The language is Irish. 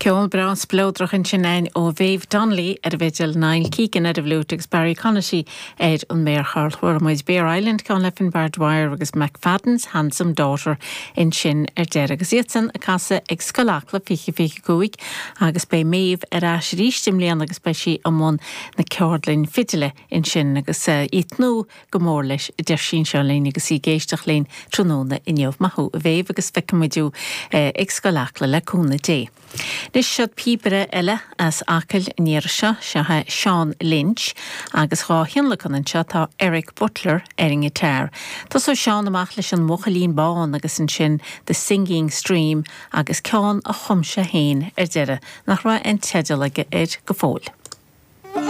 Ceol breá spleodrach ansin againn ó Mhéabh Donnelly ar an bhfidil, Niall Keegan ar an bhfliúit agus Barry Conaty ar an méarchorr. Chuala muid Bere Island, ceann le Finbar Dwyer agus McFadden's Handsome Daughter ansin ar deireadh. Agus iadsan ag casadh ag Scoil Acla 2025 agus beidh Méabh ar ais arís i mbliana agus beidh sí i mbun na ceardlainne fidile ansin agus í ag tnúth go mór leis, a deir sí anseo linn agus í ag éisteacht linn tráthnóna inniu. Maith thú, a Mhéabh, agus feicfidh muid thú ag Scoil Acla, le cúnamh Dé. Anois, seod píobaire eile as Acaill an iarraidh seo, seo é Seán Lynch, agus dhá thionlacan anseo tá Eric Butler ar an ngiotár. Tosóidh Seán amach leis an mBuachaillín Bán agus ansin The Singing Stream agus ceann a chum sé féin ar deireadh, nach raibh aon teideal aige air go fóill.